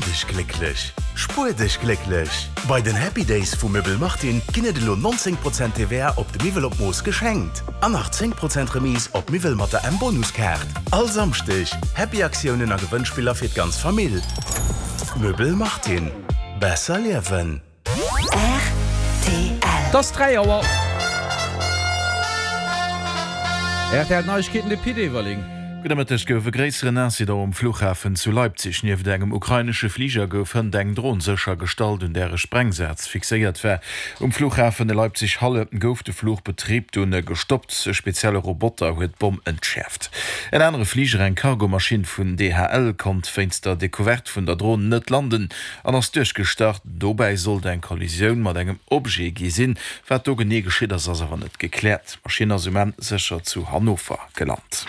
dech glécklech, spuer dech glécklech! Bei den Happy Days vu Möbel Martin ginn et elo 19 Prozent TVA op de Miwwel op Mooss geschenkt an nach 10 Prozent Remise op Miwwel mat der M-Bonuskaart. All Samschdeg Happy Aktiounen a Gewënnspiller fir d'ganz Famill. Möbel Martin, besser liewen! Rtl. Et ass 3 Auer. Rtl Neiegkeeten, de Pit Everling. Gudde Mëtteg. Gouf e gréisseren Incident um Fluchhafen zu Leipzig. Nieft engem ukrainesche Fliger gouf hënt eng Dron séchergestallt, un där e Sprengsaz fixéiert war. Um Fluchhafen Leipzig-Halle gouf de Fluchbetrib dunn gestoppt. E spezielle Roboter huet d'Bomm entschäerft. En anere Fliger, eng Cargomaschinn vun DHL, konnt wéinst der Decouverte vun der Dron net landen an ass duerchgestart. Dobäi sollt eng Kollisioun mat engem Objet gi sinn. Wat do genee geschitt ass, ass awer net gekläert. D'Maschinn ass um Enn sécher zu Hannover gelant.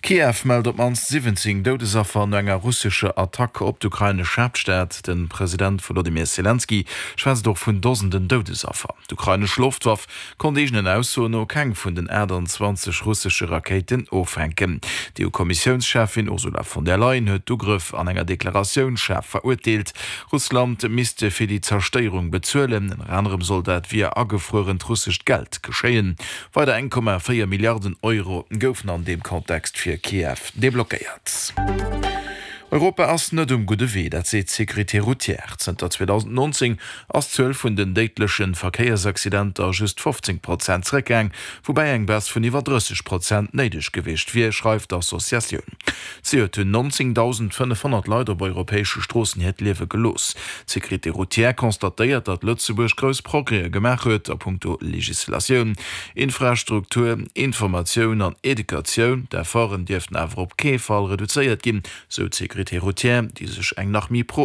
Kiew mellt op d'mannst 17 Doudesaffer no enger russescher Attack op d'ukrainesch Haaptstad. De President Wolodymyr Selenskyj schwätzt och vun Dosenden Doudesaffer. D'ukrainesch Loftwaff konnt eegenen Aussoen no keng vun den 28 russesche Rakéiten offänken. D'EU-Kommissiounscheffin Ursula von der Leyen huet d'Ugrëff an enger Deklaratioun schaarf verurteelt. Russland misst fir déi Zerstéierung bezuelen. Ënner anerem soll dat via agefruerent russescht Geld geschéien. Weider 1,4 Milliarden Euro goufen an deem Kontext fir Kiew deblockéiert. Europa ass net um gudde Wee, dat seet d'Sécurité routière. Zënter 2019 ass d'Zuel vun den déidleche Verkéiersaccidenter just 15 Prozent zeréckgaang, woubäi eng Baisse vun iwwer 30 Prozent néideg gewiescht wier, schreift d'Associatioun. Zejoert hunn 19.500 Leit op europäesche Stroossen hiert Liewe gelooss. D'Sécurité routière constatéiert, datt Lëtzebuerg grouss Progrèse gemaach huet a punkto Legislatioun, Infrastruktur, Informatioun an Educatioun. D'Efforten dierften awer op kee Fall reduzéiert ginn, sou d'Sécurité routière, déi sech eng nach méi pro.